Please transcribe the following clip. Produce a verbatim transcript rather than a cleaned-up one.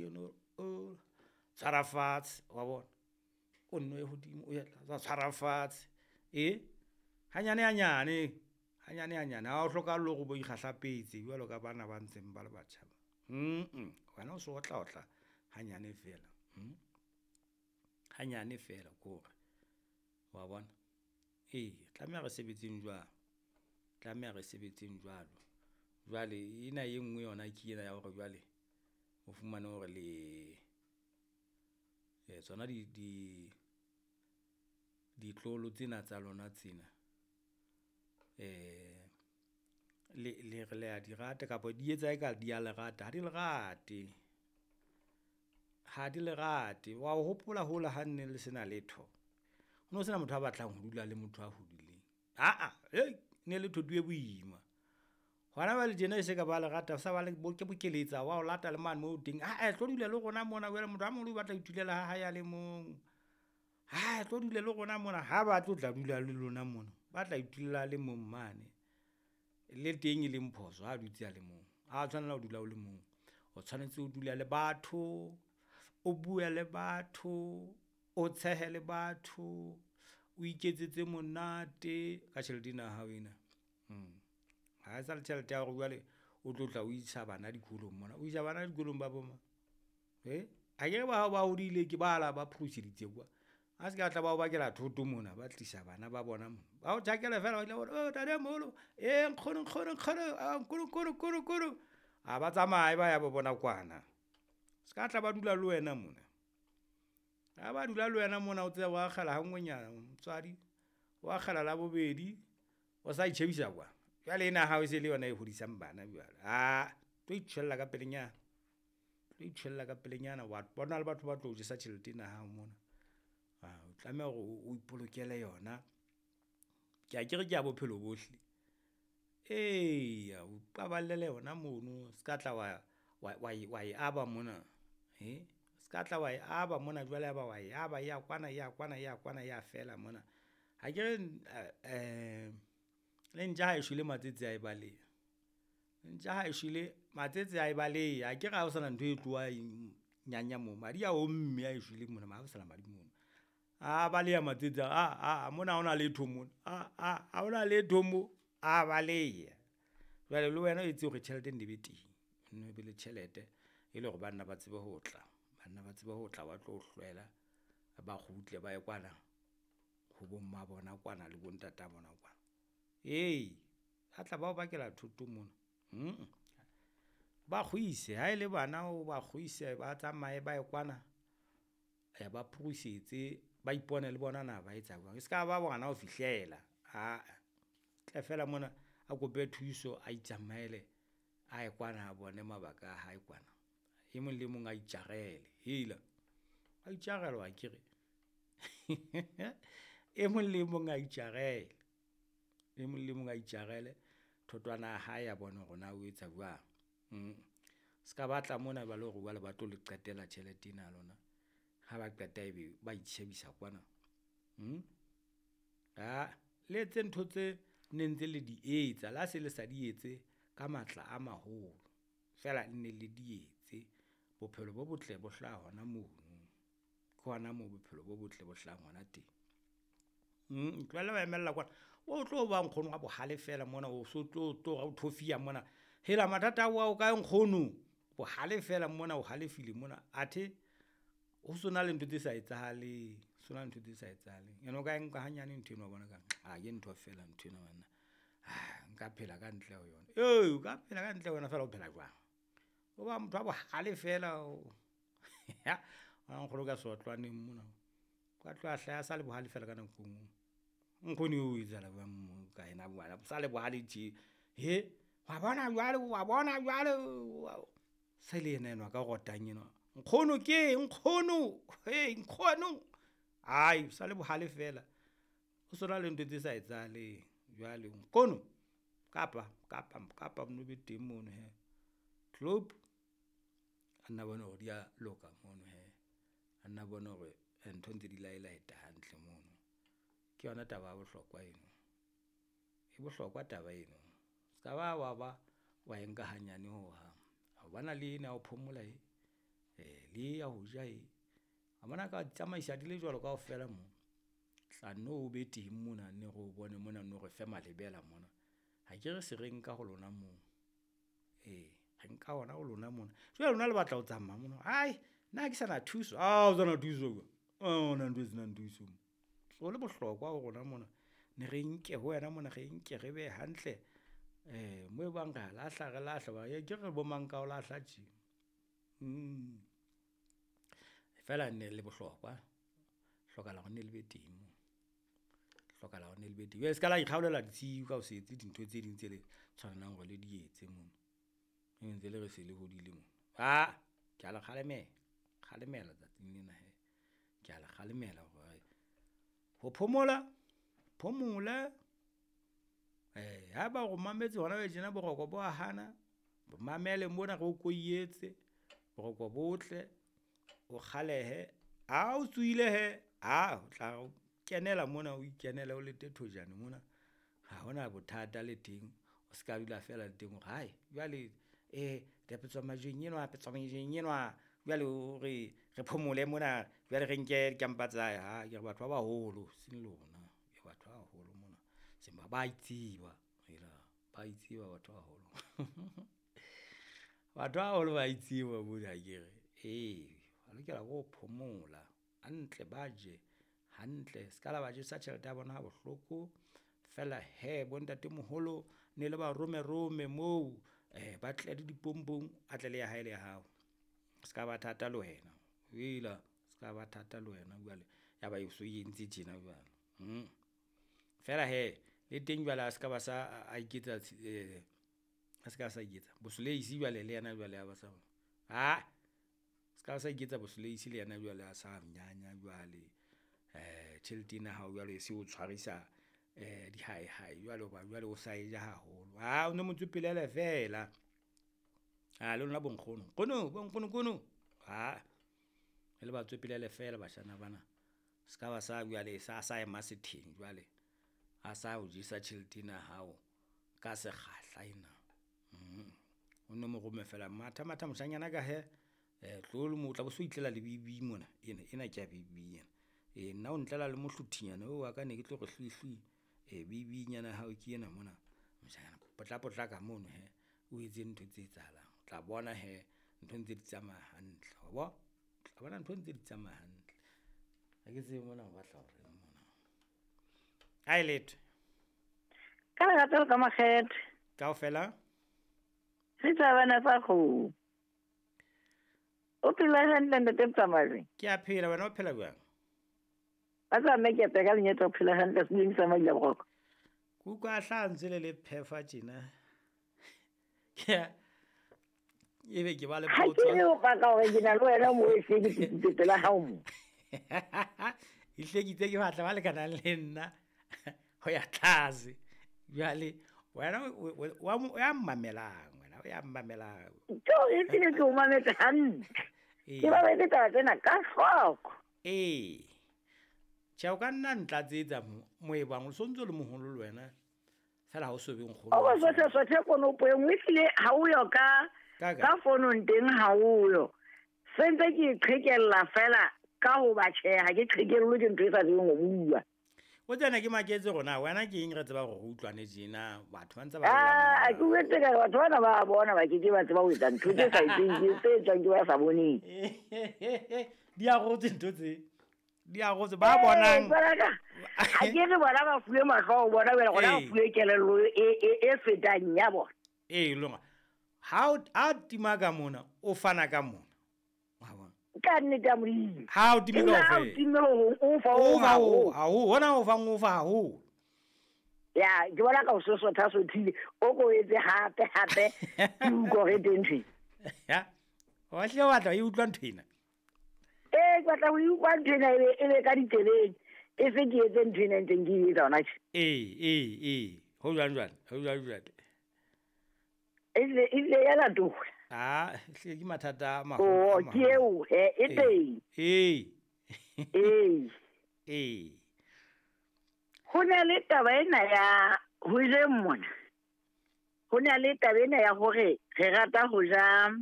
eno, o tshwara fatshe wa bona, o nno ye hodimo o ye tlase, tshwara fatshe e hanyane hanyane, hanyane hanyane ha o hlokahale hore o bo ikgahlapetse jwalo ka bana ba ntseng ba le batjha ba, mm wena o so otla otla hanyane fela hanyane fela kore wa bona. Eya tlameha re sebetseng jwalo, tlameha re sebetseng jwalo. Jwale ena e nngwe yona ke ena ya hore jwale o fumane hore le tsona ditloholo tsena tsa lona tsena le le re le a di rata kapa di etsa eka di ya le rata, ha di le rate, ha di le rate. Wa hopola hola ha nne le sena letho, ho no sena motho a batlang ho dula le motho a hodileng aa ne le thoto e boima. Hona jwale tjena e se ka ba le rata sa ba le bokeletsa wa o lata le mane moo o teng, ae tlo dula le rona mona jwale motho a moholo o batla ho itulela ha hae a le mong, ae tlo dula le rona mona, ha batle ho tla dula le lona mona, o batla ho itulela a le mong mane. Le teng e leng phoso ha dutse a le mong, ha wa tshwanela ho dula o le mong, o tshwanetse ho dula le batho, o bue le batho, o tshehe le batho, o iketsetse monate ka tjhelete ena ya hao ena. Ha e sa le tjhelete ya hore jwale o tlo tla o isa bana dikolong mona, o isa bana dikolong ba bo mang, hee? Akere ba hao ba hodile ke bala ba phuruseditse kwa, a ska tla ba o bakela thoto mona, ba tlisa bana ba bona mona. Ba o tjhakele fela oh ntatemoholo, ee nkgono, nkgono, nkgono, nkgono, nkgono, nkgono, nkgono, a ba tsamaye ba ya bo bona kwana. Ska tla ba dula le wena mona, ha ba dula le wena mona o tsebe o akgela ha nngwenyana motswadi, o akgela labobedi, o sa itjhebisa kwa, jwale ena ya hao e se le yona e hodisang bana jwale, aa tlo itjhwella ka pelenyana, tlo itjhwella ka pelenyana wa bona le batho ba tlo o jesa tjhelete ena ya hao mona. O tlameha hore o ipolokele yona, ke akere ke ya bophelo bohle. Eya o ipaballe yona mono ska tla wa wa e aba mona, ska tla wa e aba mona jwale ya ba wa e aba e ya kwana e ya kwana e ya kwana e ya fela mona. Akere le ntja ha e shwele matsetse a e baleha, ntja ha e shwele matsetse a e baleha akere ha ho sana ntho e tloha e nyanya moo, madi a omme ha e shwele mona ha ho sana madi mono. A baleha matsetse a re aa mona ha hona letho mona, aa ha hona letho mo, a baleha. Jwale le wena o etse hore tjhelete e nne be teng, o nno be le tjhelete e le hore banna ba tsebe ho tla, banna ba tsebe ho tla ba tlo o hlwela, ba kgutle ba ye kwana ho bomma bona kwana le bontata bona kwana. Ee, ba tla ba o bakela thoto mona mm, ba kgwise ha ele bana o ba kgwise, ba tsamaye ba ye kwana ba phurusetse, ba ipone le bona na ba etsa jwang, e ska ba ngwana ho fihlela aa, tle fela mona a kope thuso, a itsamaele a ye kwana a bone mabaka a hae kwana. E mong le mong a itjarele, hela wa itjarela akere e mong le mong a itjarele, e mong le mong a itjarele thotwana ya hae a bone hore na o etsa jwang. Ska ba tla mona ba le hore jwale ba tlo le qetela tjhelete ena ya lona, ha ba qeta ebe ba itjhebisa kwana. Aa le etse ntho tse ne ntse le di etsa, le ha se le sa di etse ka matla a maholo, feela nne le di etse. Bophelo bo botle bo hlaha hona mono, ke hona moo bophelo bo botle bo hlahang hona teng. Tlohella ho emella kwana, o tlo ba nkgono wa bohale fela mona o so tlo tlo thofiya mona, hela mathata ao a o kae nkgono? Bohale fela mona o halefile mona athe ho sona le ntho tse sa etsahaleng, ho sona le ntho tse sa etsahaleng. Ene o ka e nka hanyane nthweno wa bona ekare aa ke ntho fela nthwena banna, nka phela ka ntle ho yona. Ee, o ka phela ka ntle ho yona feela o phela jwang? O ba motho wa bohale fela o bona nkgono ka seotlwaneng mona, o ka tloha a hlaha a sa le bohale fela ka nako e ngwe. Nkgono eo ho etsahala jwang mo ka yena o sa le bohale tje? Hee wa bona jwale, wa bona jwale se le yena enwa a ka rotang enwa, nkgono keng nkgono, hei nkgono ai o sa le bohale fela. Ho sona le ntho tse sa etsahaleng jwale nkgono kapa, kapa, kapa bo no be teng mono hee, tloop a nna bone hore di ya loka mono hee, a nna bone hore ntho ntse di laelaeta hantle mono. Ke yona taba ya bohlokwa eno, e bohlokwa taba eno ska ba wa ba wa e nka hanyane hohang, wa bona le ena ya ho phomola e. Le ya ho ja e. A bona ka tsamaisa di le jwalo kaofela mo. Tla no o be teng mona ne re o bone mona no re fe malebela mona. Ha ke re se re nka ho lona moo. Ee, re nka hona ho lona mona. Jwale lona le batla ho tsamaya mona. Ai, nna ha ke sana thuso. Ah, o sana thuso ka. Ah, ona ntho e senang thuso. So le bohlokwa ho rona mona. Ne re nke ho wena mona, re nke re be hantle. Eh, mo e bang re a lahla, re lahla. Ba ke re bo mang ka o lahla tje. Mm. Fela ne le bohlokwa. Hlokahala hore ne le be teng moo. Hlokahala hore ne le be teng. Jwale se ka la ikgaolela ditshiu ka ho se etse dintho tse ding tse le tshwanelang hore le di etse mona. E ntse le re se le hodile mona. Ah, ke a le kgalemela. Kgalemela tsatsing lena he. Ke a le kgalemela hore ho phomola, phomole. Eh, haeba o mametse hona jwale tjena boroko bo a hana, mamele mona re o koietse, boroko botle, o kgalehe. Ha o tsohile he, ha o tla kenela mona o ikenele o lete thojane mona. Ha hona bothata le teng. O ska dula fela le teng hore hai jwale eh petswa majweng enwa, petswa majweng enwa. Jwale o re re phomole mona, jwale re nke dikampa tsa hae. Ha ke re batho ba baholo seng lona. Ke batho ba baholo mona. Seng ba ba itseba. Hela ba itseba batho ba baholo. Batho ba baholo ba itseba mona akere. Ee, ba lokela ke ho phomola hantle, ba je hantle. Se ka la ba jesa tjhelete ya bona ha bohloko. Feela he bo ntatemoholo ne le ba rome rome moo eh ba tle le dipompong, a tle le ya hae le ya hao. Se ka ba thata le wena. Hela, se ka ba thata le wena jwale. Ya ba e so entse tjena jwale. Mm. Feela he le teng jwale a se ka ba sa a iketsa eh a se ka sa iketsa bosoleisi jwale le yena jwale a ba sa. Ha se ka sa iketsa bosoleisi le yena jwale a sa nyanya jwale. Eh tjhelete ena hao jwale e se o tshwarisa eh di hae hae jwale hoba jwale o sa e ja haholo. Ha o no mo tswepelele fela. Ha le lona bonkgono. Nkgono, bonkgono kono. Ha le ba tswepelele fela bashana bana. Se ka ba sa jwale sa sa ema setheng jwale. A sa o jesa tjhelete ena hao ka sekgahla ena. Mm. O no mo rome fela matha matha moshanyana ka he eh tlo le mo tla bo so itlela le bibi mona. Ena ena ke ya bibi ena. E nna o ntlela le mohlothinyana o wa ka ne ke tlo re hlwi hlwi. E bibi nyana hao ke ena mona. Moshanyana potla potla ka mono he. O etse ntho tse etsahalang. O tla bona he ntho ntse di tsamaya hantle. Wa bo? Tla bona ntho ntse di tsamaya hantle. Ha ke tsebe mona o batla hore mona. Ai letho. Ka lerato ka makgethe. Kaofela? Setjhabana sa kgomo. O phela hantle ntate Mtsamai? Ke a phela, wena o phela jwang? Ba tsa mme ke a ka lenyetsa o phela hantle sebeng sa Maila Boroko. Kuka hla ntse le le phefa tjena. Ke ebe ke ba le potso. Ha ke re o paka hore ke na le wena mo e hlekisitse pela hao mo. E hlekitse ke batla ba lekanang le nna ho ya tlase. Jwale wena o ya mmamelang, wena o ya mmamelang. Tjo, e tlile ke o mametse hantle. Ke ba betse taba tsena ka hloko. Ee. Tjhe, o ka nna ntlatsetsa mo e bang o sontso le moholo le wena. Fela ha o so be nkgono. O bo se sothe konopo e nngwe ehlile ha o yo ka ka fonong teng ha o yo. Sentse ke qhekella fela ka ho ba tjhe ha ke qhekellwe ke ntho e sa tsebeng ho bua. O tsena ke maketse rona wena ke eng re tseba hore re utlwane tjena batho ba ntse ba Ah, ke utlwetse ka batho bana ba bona ba ke ke ba tseba ho etsa ntho tse sa etseng ke tse etswang ke ba sa boneng. Di a rotse ntho tse. Di a rotse ba bonang. Ha ke re bona ba fuwe mahlo ho bona wena gona ba fuwe kelello e e e fetang ya bona. Ee longa. Ha o a tima ka mona o fana ka mona. Wa bona. Ka nnete ya Modimo. Ha o time kaofela. Ha o time ho o fa o fa o ha o hona o fa o fa haholo. Ya, ke bona ka o sosotha sothile o ko etse hape hape ke utlwa re teng ntho. Ya. Wa hle wa tla e utlwa ntho ena. Eh, ke batla ho utlwa ntho ena e be ka ditsebeng. E se ke etse ntho ena ntseng ke etsa hona tje. Ee, ee, ee. Ho jwang jwang? Ho jwang jwang? E ile ya latola. Ah, hle ke mathata a maholo. Oh, ke eo he e teng. Ee. Ee. Ee. Ho na le taba ena ya ho jeng mona. Ho na le taba ena ya hore re rata ho ja